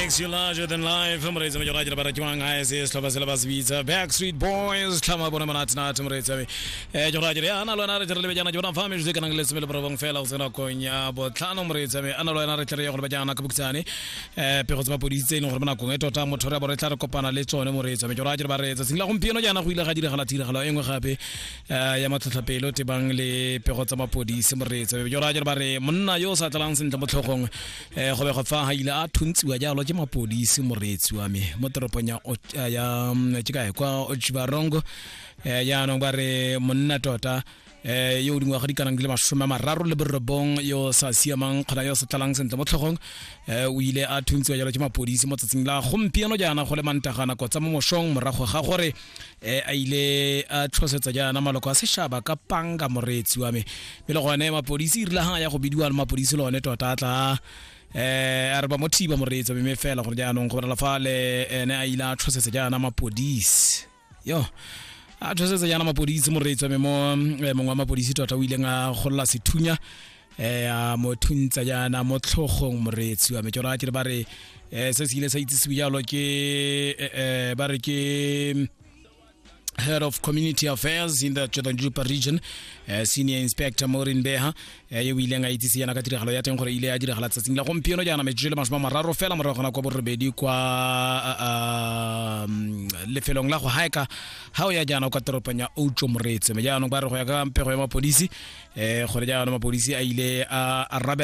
Makes you larger than life. Moreetsi me jora ba re ke mang ha se setlhopha se le ba se bitsa Backstreet Boys tlhama bona monate nate moreetsi me. Eh jora jere ana lona re tle re lebe jaana jona fa metsotso e kanang le 19 fela go tsena kong ya botlhano moreetsi me. Ana lona re tle re ye go leba jaana ka bokhutshwane. Eh pego tsa mapodisi tse e leng gore mo nakong e tota motho re bo re tla re kopana le tsone moreetsi me. Jora jere ba re tsatsing la gompieno jaana go ile ga diragala tiragalo e nngwe gape eh ya matlhotlhapelo tebang le pego tsa mapodisi moreetsi me. Jora jere ba re monna yo o sa tlalang sentle mo tlhogong eh go bego fa ha ile a thuntsiwa jalo ke mapodisi moreetsi wa me mo toropong ya ya ke kae kwa Otjiwarongo. Eh jaanong ba re monna tota eh yo o dingwaga di kanang di le 39 yo sa siamang kgona yo sa tlalang sentle mo tlhogong, eh o ile a thuntsiwa jalo ke mapodisi mo tsatsing la gompieno jaana go le Mantaga nako tsa mo mošong, morago ga gore eh a ile a tlhosetsa jaana maloko a sešaba ka panga, moreetsi wa me. Mme le gone mapodisi e rile ha ya go bidiwa le mapodisi le one tota a tla eh a re ba mo thiba, moreetsi wa me, mme fela gore jaanong go bonala fa le ene a ile a tlhosetsa jaana mapodisi, yo a tshosetsa jaana mapodisi, moreetsi wa me, mo mongwe wa mapodisi tota o ileng a golola sethunya a mo thuntsa jaana mo tlhogong, moreetsi wa me. Ke raya ke re ba re se se ile sa itsisiwe jalo ke ba re ke Head of Community Affairs in the Tjotondjupa region, Senior Inspector Maureen Beha, yo o ileng a itsise yana ka tiragalo ya teng gore ile ya diragala tsatsing la gompieno jaana metsotso e le 30 fela morago ga nako ya borobedi kwa lefelong la go haeka ha o ya jaana kwa toropong ya Outjo, moreetsi. Mme jaanong ba re go ya ka pego ya mapodisi gore jaanong mapodisi a ile a arabela.